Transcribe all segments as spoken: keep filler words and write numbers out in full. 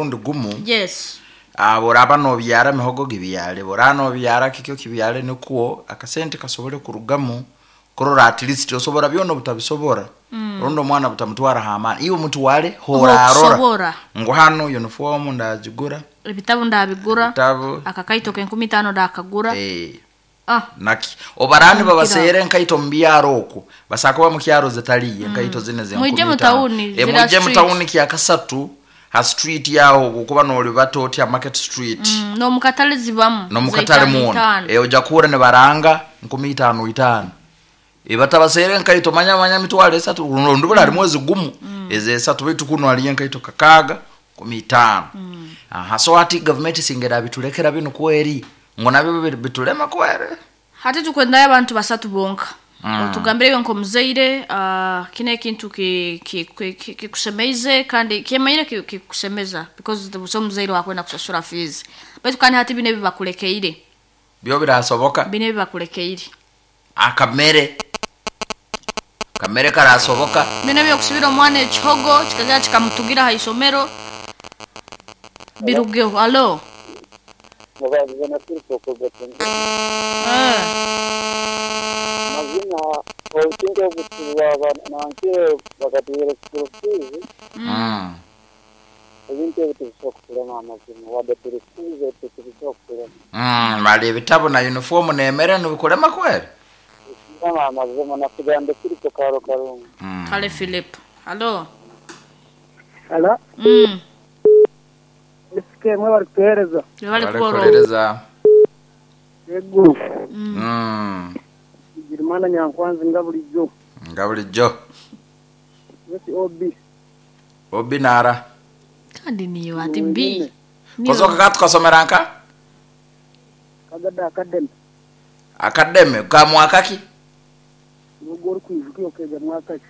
Omurundi gumu. Yes. Ah, boraba nobyara mihogo gibyale, boraba nobyara kikyo kibyale, nikuo akasente kasobole kurugamu kurora at least osobora byona obutabisobora. Mm. Rundi omwana butamutwara hamani, iwe mutwale hora arora Okusobora. Ngu hano uniform ndagigura, ebitabu ndabigura, ebitabu, akakaito k'enkumi itaano ndakagura. Eh, ah naki obarani babasere enkaito mu byaro okwo basakuba mu kyaro zitaliye enkaito zine ze Mwije nkumi mu itaano. tawuni, Eh, zira mwije mu street. tawuni kyakasatu ha street yaho kuba nolibata otya Market Street. Mm, n'omukatale zibamu. Nomukatale za muona itaano. e ojja kuhura nibaranga nkumi itaano itaano, e batabasere enkaito manya manya mitwalo esatu ndubula harimu ezigumu eze esatu, baitu kuno haliyo enkaito kakaaga nkumi itaano. Aha, so ati gavumenti singera bitulekera bino kweri ngo nabyo bi- bitulema kweri. Hati tukwendayo abantu basatu bonka. Mm. Otugambire iwe nk'omuzaire, uh, kino ekintu ki- ki- ki- ki- kikusemeize kandi kyemanyire ki- kikusemeza because busa omuzaire wakwenda kusasura fees, baitu kandi hati bino ebibakulekeire byo birasoboka. Bino ebibakulekeire. Akamere kamere karasoboka. Bino ebyokusibira omwana ekihogo kikagera kikamutugira ha isomero birugeho. Alo. Mubazize na Filipo Kugatinda. Eh. Mazina obusinge obutuba nankire bakatuhera school fees. Mm. Ebintu ebyo tubisobola kukulema, amazima wadde tuli fees ebyo tubisobola kukulema. Mm, bali ebitabo na uniform nemere nibikulema kweri. Kulema amazima nakugambe Filipo karo karungu. Mm. Kale Philip, alo. Ala. Mm. Esike mwe bari kutuhereza. Bali kuborora. Barikuhereza. Yego. Mm. Girimana Nyankwanzi nga bulijjo. Nga bulijjo. Yesi O B. Obi nara. Kandi niyo ati b. Kozoka katukasomera nka Kagada Academy. Academy ka mwaka ki? Nubwo uri kwijuka iyo kega mwaka ki?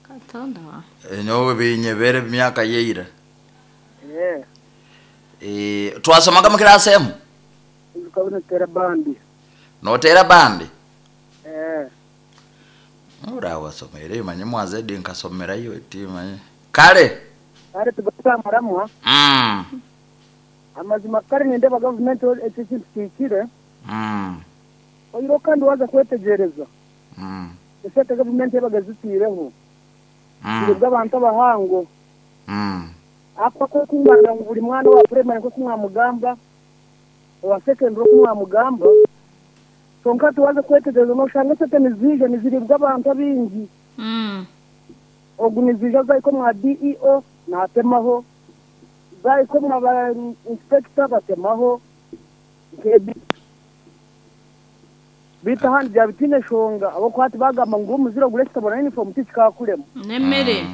Katonda wa. Nyowe binyebere myaka yeira. Eh. Eh, twasomaga mu kirasi emu. Ijuka bino tera bandi. Notera bandi. Eh. Ura wasomere manye mwazedi nkasomerayo eti manye. Kale. Kare tugatamaramwa. Mm. Amazima kare nindeba gavumenti ekyo kintu kihikire. Mm. Oyiro kandi waza kwetegereza. Mm. Esente gavumenti yabaga zitiireho. Mm. Ziribwa abantu abahango. Mm. Ako ko kumwana ngu buri mwana wa primary ko kumwamugamba, owa secondary ko kumwamugamba, konka tuwaze kwetegereza noshanga esente nizija niziribwa abantu abingi. Mm. Ogu nizija zaiko mwa D E O natemaho, zaiko mwa ba inspector batemaho. Nkebi bita handi bya bitine shonga abo kwati bagamba ngo umuziro gure kitabona uniform tikikakuremo. Nemmere.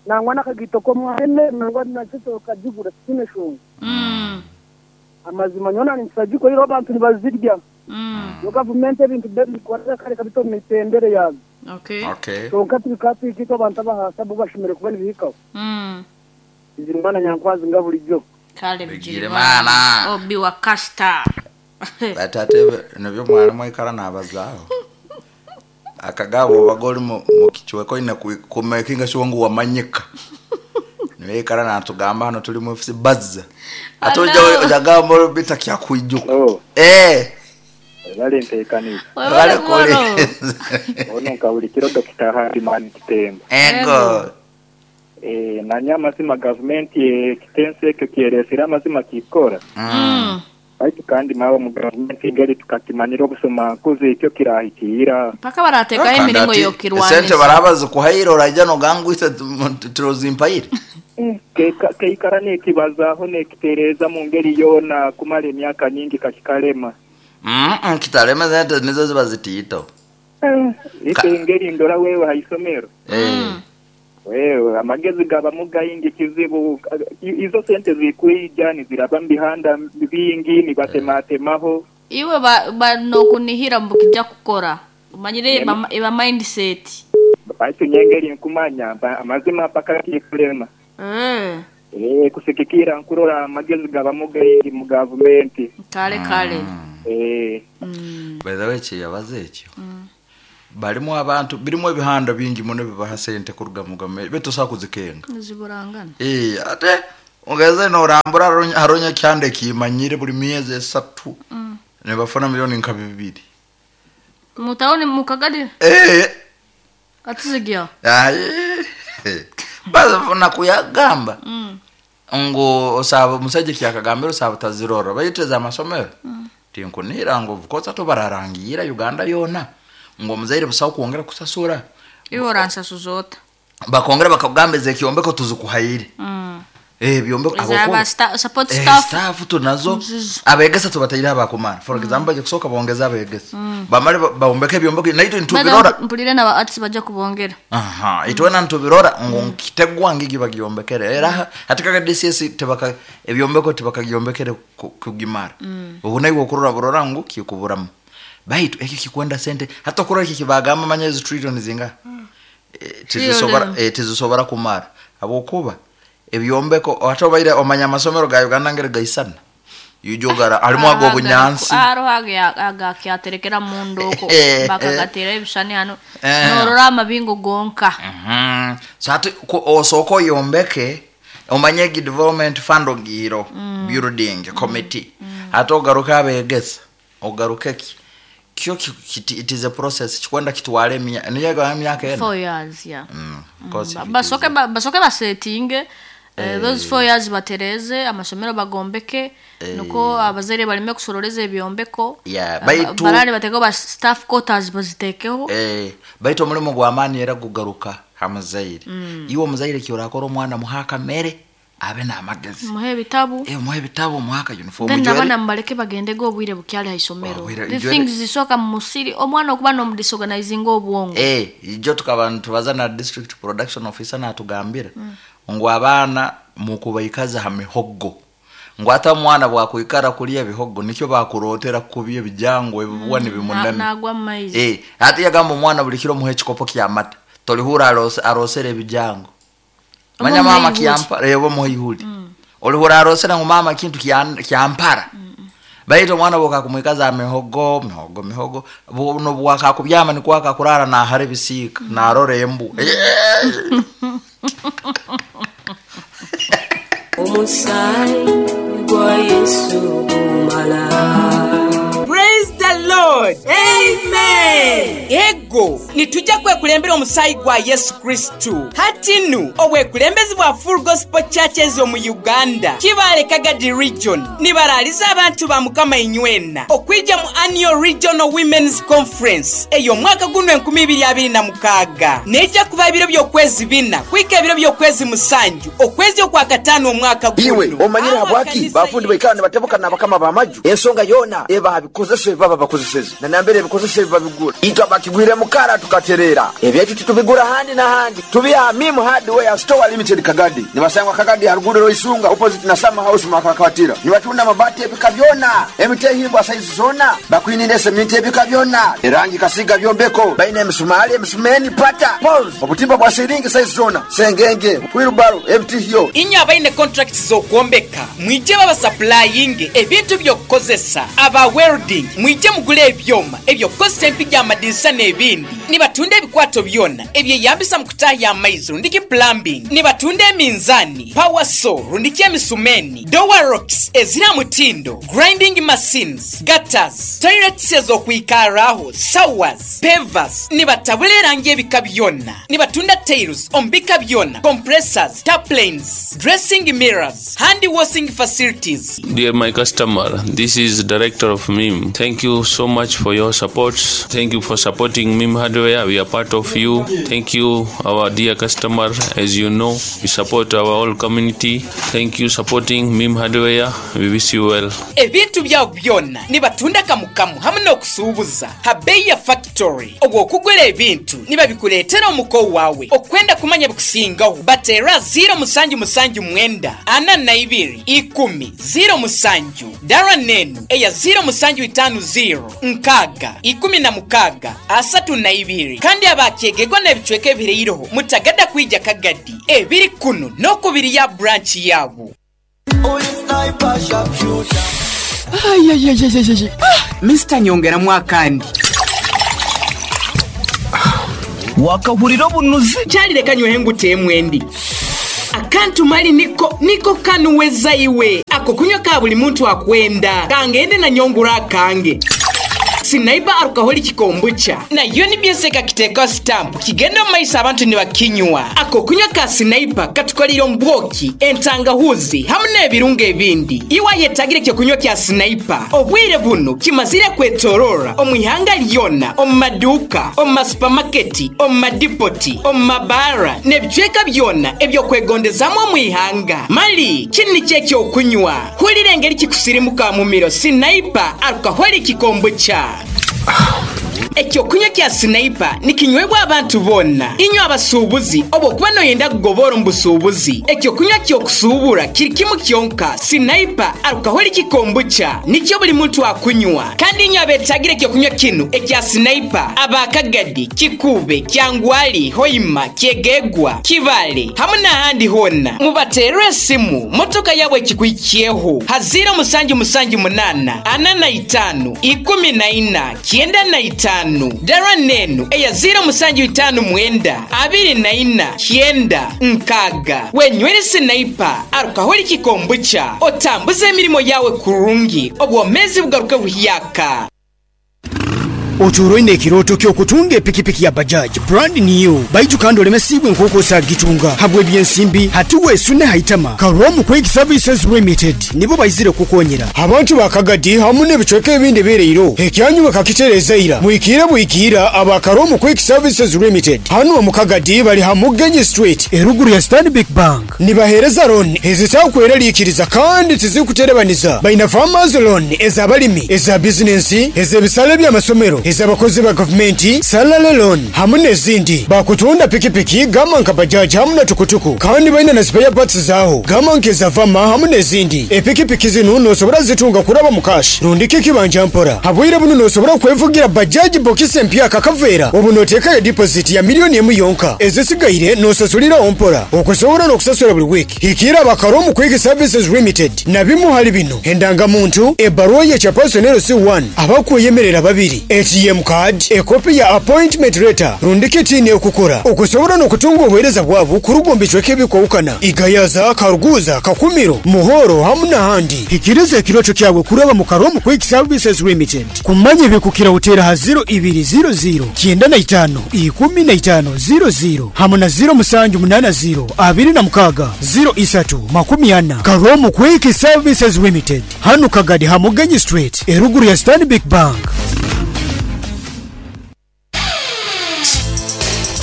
Nangwa nakagito ko mwene nangwa nakito kajigura kitine shonga. Mm. Amazima nyona nisagiko iro abantu nibazirya. Mm. Yo gavumenti ebintu byo kare kabito mu mitendere yazo. Okay. Okay. Konka tubikatwikito abantu abahasa bo bashimire kubona ibihikaho. Mm. Izirimana Nyankwazi nga bulijjo. Kale. Bigirimana. Obi wa Kasta. Batate nibyo mwalimu aikara nabazaaho akagabo obaga oli mu mu kichweko ine kumakinga sure ngu wamanyika, niwe ikara natugamba hano tuli mu F C bazza ate ojja Hello. ojagamba bita kyakwijuka. Oh, eh bali nteekaniza. Webale kuborora. Ono nka buli kiro Dokita Hadimani Kitemba. Ego. Eh, nanye amazima gavumenti ekitenso ekyo kyeresire amazima kikora. Mm. Baitu kandi mawe mu gavumenti engeri tukakimanyira obusoma nkuzi ekyo kirahikira. Paka barateekaho emiringo Kandi ati, esente y'okirwanisa. baraba zikuhaire orajja nogangwisa turozimpaire. Keika- keikara nekibazaaho nekitereeza mu ngeri yoona kumara emyaka nyingi kakikalema. Mm kitalema sente nizo ziba zitiito. Ite engeri ndora wewe haisomero. Eh. Wewe amagezi gabamu gayingi kizibu I- izo sente zikwija niziraba mubihanda bingi nibatematemaho. Iwe ba, ba nokunihira mbu kijja kukora omanyire eba, eba mindset. Baitu nyengeri nkumanya ba- amazima paka kikulema. Eh. Eh, kusikikira nkurora amagezi gabamu gayingi mu gavumenti. Kale kale. Eh. Mm. By the way, kyeyabaza ekyo balimu abantu birimu ebihanda bingi muno bibaha sente kuruga mu gavumenti betusobola kuzikenga. Ziburangana. Eh, ate Ongeze norambura haronya kyande kimanyire buli myezi esatu. Mm. Nebafuna milioni nka bibiri. Mutaone mukagadi? Eh. Atizigia. Ayi. Bazafuna kuyagamba. Mm. Ngo osaba musajja kyakagambira osaba tazirora bayiteza amasomero. Mm. Tinkunira ngo vukoza tobararangira Uganda yona. Ngo muzaire busaho kuongera kusasura. Iwe oransa zota. Bakongera bakagambeza ekyombeko tuzikuhaire. Mm. Eh byombeko abo sta, support eh, staff staff tunazo Mzizo. Abegesa tubataira abakumara for example baje kusoka bongeza abegesa Mm. bamale baombeke byombeko naito ntubirora mpulire na arts baje kubongera aha itwena ntubirora ngo nkitegwa ngigi bagyombekere era hatika D C S tebaka ebyombeko tebakagyombekere kugimara Mm. ubu nayo okurora burora ngo kikuburamo baitu ekyo kikwenda sente hata kurora iki kibagamba manyezi trillion zinga Mm. e, tizisobora e, tizisobora kumara abokuba ebyombeko atobaire omanya amasomero ga Uganda ngere gaisana yujogara alimu ago bunyansi aro aga aga kyaterekera mundo ko bakagatera ebishani hano Eh. norora amabingo gonka Mhm so ati osoko yombeke omanye gi development fund ogiro Mm. building committee mm. Ate ogaruka abegesa ogaruke ki kyo ki, it is a process kikwenda kitwale emya niyo ga myaka ena four years yeah mm. Because mm. Basoke ba, basoke basetinge eh, those four years batereze amasomero bagombeke Eh. nuko abazaire balime kusoroleza ebyombeko Yeah, Aba- baitu- barale bateko ba staff quarters bazitekeho eh baitu omulimu gwa maani era gugaruka hamuzaire Mm. iwe omuzaire kyorakora omwana muhaka mere abe n'amagezi muhe ebitabu eh muhe ebitabo muhaka uniform then ujwere- nabana mubaleke bagendege obwire bukyali ha isomero Obwire- the ujwere- things zisoka mu musiri omwana okuba n'omudisorganizinga obwongo eh ijo tukaba tubaza na district production officer natugambira Mm. ngo abaana mukubaikaza ha mihogo ngo ata mwana bwakwikara kulya ebihogo nikyo bakurotera kubya ebijango ebibwa mm, nibimunami nagwa mu maizi eh ati yagamba omwana buli kiro muhe ekikopo kyamata tolihura arose arosera ebijango manya Oba mama muhe ihuri. kyampa rebo muhe ihuri olihura arosera ngo mama kintu kyan- kyampara baitu omwana bwokakumwikaza mihogo mihogo mihogo buno bwakakubyama nikwakakurara nahara ebisiika narora embu Omusaayi gwa Yesu gumala. Praise the Lord. Amen. Ego nitujja kwekulembera omusaayi gwa Yesu Kristu. Hatinu obwekulembezi bwa Full Gospel Churches omu Uganda Kibaale Kagadi Region nibaraliza abantu ba Mukama inywena okwijja mu Annual Regional Women's Conference ey'omwaka guno enkumi ibiri abiri na mukaaga nejja kuba ebiro by'okwezi bina kwika ebiro by'okwezi musanju okwezi okwakataano omwaka guno. Iwe omanyire habwaki bafundi baikara nibatebuka n'abakama b'amaju ensonga yona eba bikozesa ebibaba bakozeseze na nambere ebikozesa ebibabigura itwe abakigwire mukara tukaterera ebyaitu titubigura handi na handi tubiha Mimu Hardware Store Limited Kagadi nibasangwa Kagadi haruguru Roisunga opposite na Summer House makakatira nibatunda mabati ebika byona emitehimbwa size zona bakwinire seminti ebika byona erangi kasiga byombeko baine emisumali emisumeni pata poles obutimba bwa siringi size zona sengenge wheelbarrow emtihyo Inyo abaine contracts z'okwombeka mwije babasupplyinge ebintu by'okukozesa aba welding mwije mugule ebyoma ebyokukozesa empiga amadirisa n'ebindi nibatunda ebikwato byona ebyeyambisa mu kutahya amaizi rundiki plumbing nibatunda eminzani power saw rundiki emisumeni door locks ezira mutindo grinding machines gutters toilets ez'okwikaraho showers pavers nibatabula erangi ebika byona nibatunda tiles omu bika byona compressors taplanes dressing mirrors hand washing facilities. Dear my customer, this is director of M I M. Thank you so much for your support. Thank you for supporting M I M Hardware. We are part of you. Thank you, our dear customer. As you know, we support our whole community. Thank you supporting M I M Hardware. We wish you well. Ebintu byawo byonna nibatunda kamukamu hamwe n'okusuubuza ha bei ya factory obw'okugula ebintu nibabikuleetera omuko waawe okwenda kumanya bikusingaho bateera zero musanju musanju mwenda ana na ibiri ikumi zero musanju dara nenu eya zero musanju itanu zero nkaaga ikumi na mukaaga asatu na ibiri kandi abakyegegwa n'ebicweka ebireiroho mutagada kwija Kagadi ebiri kuno n'okubiri ya branch yaabo. Ayayayayayay. Mister Nyongera mwakandi wakahurira obunuzi kyalireka nywehe ngute emwendi. Akantu mali niko niko kanuweza iwe ako kunywa ka buli muntu akwenda kangende na nyongura akange Sniper alcoholic kombucha nayo nibyeseka kiteka stamp kigenda mu maiso abantu nibakinywa. Ako kunywa ka Sniper katukolera ombwoki, entangahuzi hamwe n'ebirungo ebindi. Iwa yetagire kyo kunywa kya Sniper obwire buno kimazire kwetorora omu ihanga lyona, omu maduka, omu masupamaketi, omu madipoti, omu mabara n'ebicweka byona ebyokwegondezamu omu ihanga. Mali kini kyekyokunywa hulira engeri kikusirimuka mu miro. Sniper alcoholic kombucha. Ekyokunywa kya Sniper nikinywebwa abantu bonna, inywe abasuubuzi oba okuba noyenda kugobora omu busuubuzi. Ekyokunywa kyokusuubura kiri kimu kyonka, Sniper alcoholic kombucha nikyo buli muntu akunywa. Kandi inywe abetagire ekyokunywa kinu ekya Sniper, abakagadi, Kikube, Kyangwali, Hoima, Kyegegwa, Kibale hamwe n'ahandi honna, mubaterere esimu motoka yabwe ekikwikiyeho ha ziro musanju musanju munana ana na itaano ikumi na ina kyenda na itaano. Dara nenu eya ziro musanju itanu mwenda abiri na ina kyenda nkaga. Wenywere Sniper alcoholic kombucha otambuze emirimo yawe kurungi, obwomezi bugaruke buhyaka. Oturoine ekiroto kyokutunga epikipiki ya Bajaj brand new baitu kandi olemesibwe nkokosa gitunga habwe ebyensimbi hatiwe esune haitama. Karomu Quick Services Limited nibo baizire kukonyera abantu bakagadi hamwe n'ebicweka ebindi bereiro ekyanyu bakakitereza ira mwikire bwikira aba Karomu Quick Services Limited hano mu Kagadi bali Hamugenyi Street eruguru ya Stanbic Bank. Nibahereza loan ezitakweralikiriza kandi tizikuterebaniza. Baina farmers loan ezabalimi, eza business, ez'ebisale by'amasomero, ezabakozi ba gavumenti, salary loan hamwe n'ezindi. Bakutunda pikipiki gama nka bajaji hamwe na tukutuku, kandi baina na spare parts zaho gama nkeza vama hamwe n'ezindi. Epikipiki zino nosobora zitunga kuraba mu cash rundike kibanja mpora. Habwire buno nosobora kwevugira bajaji bokisi empya kakavera obu notekayo deposit ya miliyoni emu yonka, ezisigaire nosasulira ompora okusobora n'okusasula buli wiki. Hikira abakaromu Quick Services Limited na bimu hali bino: endangamuntu, ebaruwa ye chapersonero C one, abakweyemerera babiri, A T M card, ekopi ya appointment letter, rundike tini okukora okusobora n'okutunga obuheereza bwabo kurugomba icweka ebikwawukana Igayaza, Karuguza, Kakumiro, Muhoro hamwe n'ahandi. Hikiriza ekiroto kyawe kuraba mu Karomu Quick Services Limited. Kumanya ebikukira utera ha ziro ibiri ziro ziro kyenda na itaano ikumi na itaano ziro ziro hamwe na ziro musanju munana ziro abiri na mukaga ziro isatu makumi ana. Karomu Quick Services Limited hano Kagadi Hamugenyi Street eruguru ya Stanbic Bank.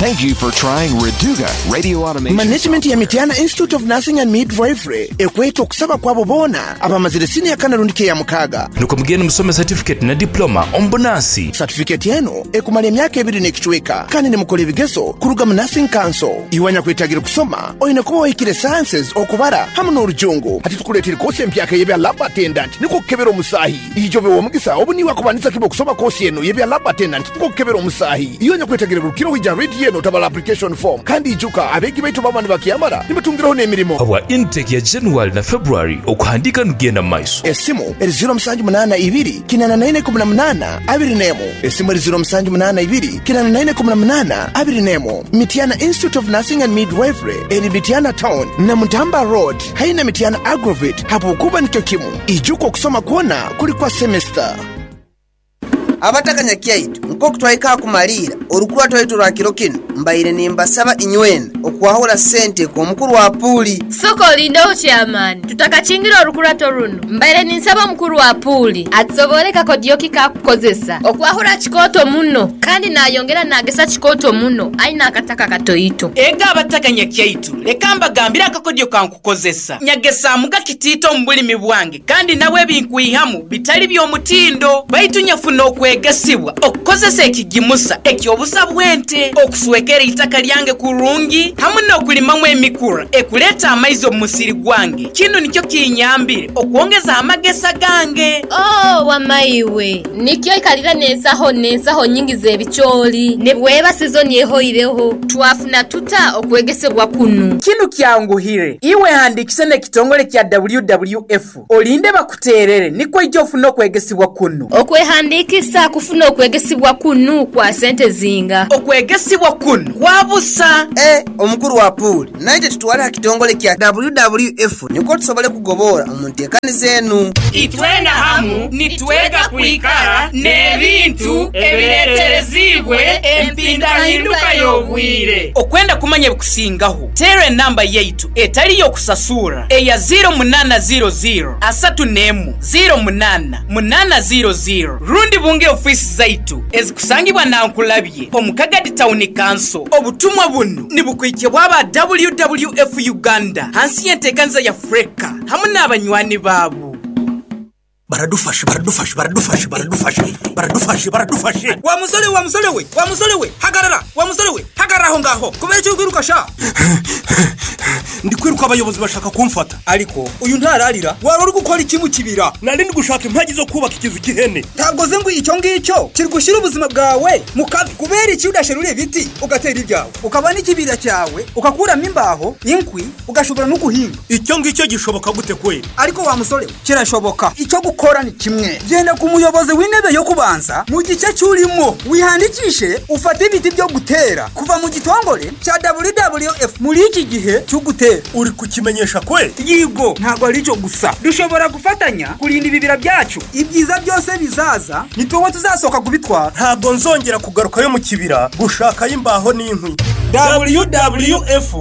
Thank you for trying Reduga Radio Automation. Management ya Mitiana Institute of Nursing and Midwifery ekweta okusaba kwabo bona abamazire siniya kana rundike ya mukaga nuko mugende musome certificate na diploma ombonasi. Certificate yenu ekumala emyaka ebiri n'ekicweka kandi nimukola ebigezo kuruga mu Nursing Council. Iwanya kwetagira kusoma oyine kuba wahikire sciences okubara hamwe n'orujungu. Hati tukuleetera kosi empyaka y'ebya lab attendant niko kukebera omusahi. Ijobe w'omugisa obu niwe akubanisa kiba okusoma kosi eno y'ebya lab attendant niko kukebera omusahi. Iwanya kwetagira rukiro hija radio eno tabala application form kandi ijuka abegi baitu baba nibakyamara nibatungiraho n'emirimo. Habwa intake ya January na February okuhandika nugenda maiso. Esimu eri ziro musanju munana ibiri kinana na ine kumi na munana abiri nemu. Esimu eri ziro musanju munana ibiri kinana na ine kumi na munana abiri nemu. Mitiana Institute of Nursing and Midwifery eri Mitiana Town na Mutamba Road haina Mitiana Agrovet hapo kuba nikyo kimu. Ijuka okusoma kuona kuli kwa semester. Abatakanya kyaitu nkoku twaika kumalira orukura twaitu lwa kiro kino mbaire nimbasaba inywena okwahura sente ku mukuru wa puli. Soko lindaho chairman, tutakachingira orukurato runo. Mbaire ninsaba mukuru wa puli atsoboreka kodioki ka kukozesa okwahura chikoto muno kandi nayongera nagesa chikoto muno aina akataka katoito. Ega abatakanya kyaitu leka mbagambira akakodio kankukozesa nyagesa muga kitito mbulimi bwange kandi nawe binkuihamu bitali by'omutindo baitu nyafuna okwegesibwa okukozesa ekigimusa ekyobusa bwente okuswekera itaka lyange kurungi hamwe n'okulimamu emikura ekuleta amaizi omu musiri gwange. Kino nikyo kinyambire okwongeza amagesa gange. Oh, wamaiwe nikyo ikalira nensaho nensaho nyingi z'ebicholi nebweba season yehoireho twafuna tuta okwegesebwa kunu. Kino kyanguhire iwe handikise n'ekitongole kya W W F olinde bakuterere niko ijjo ofuna okwegesibwa kunu. Okwehandikisa Omuntu akufuna okwegesibwa kunu kwa sente zinga? Okwegesibwa kunu kwabusa. E omukuru wa puuli, naite tutwale ha kitongole kya W W F niko tusobole kugobora omu nteekaniza enu. Itwena hamu nitwega kwikara n'ebintu ebireeterezibwe empindahinduka y'obwire. Okwenda kumanya ebikusingaho, teera enamba yaitu etali y'okusasura eya zero munaana zero zero asatu n'emu zero munaana munaana zero zero, rundi bunge ofiisi zaitu ezikusangibwa Nankulabye omu Kagadi Town Council. Obutumwa bunu nibukwikibwa aba W W F Uganda hansi y'enteekaniza ya Freka hamwe n'abanywani baabo. Baradufashe, baradufashe, baradufashe, baradufashe, baradufashe, baradufashe! Wa musore, wa musore we, wa musore we, hagarara! Wa musore we, hagarara aho ngaho! Kubera icyo uri sha? Ndi kwiruka, abayobozi bashaka kumfata. Ariko uyu ntararira. Wari uri gukora iki mu kibira? Nari ndi gushaka impagi zo kubaka ikizu cy'ihene. Ntabwo uzi ngo icyo ngicyo kiri gushyira ubuzima bwawe mu kabi? Kubera iki udasherura ibiti ugatera ibyawe, ukaba n'ikibira cyawe, ugakuramo imbaho, inkwi, ugashobora no guhinga? Icyo ngicyo gishoboka gute kweri? Ariko wa musore we, kirashoboka. Icyo gukora ni kimwe: genda ku muyobozi w'intebe yo kubanza mu gice cy'urimo, wihandikishe, ufate ibiti byo gutera kuva mu gitongore cya W W F muri iki gihe cyo gutera. Uri kukimenyesha kwe? Yigo, ntabwo ari cyo gusa. Dushobora gufatanya kurinda ibibira byacu. Ibyiza byose bizaza ni tuwe tuzasohoka kubitwara. Ntabwo nzongera kugarukayo mu kibira gushakayo imbaho n'inkwi. W W F.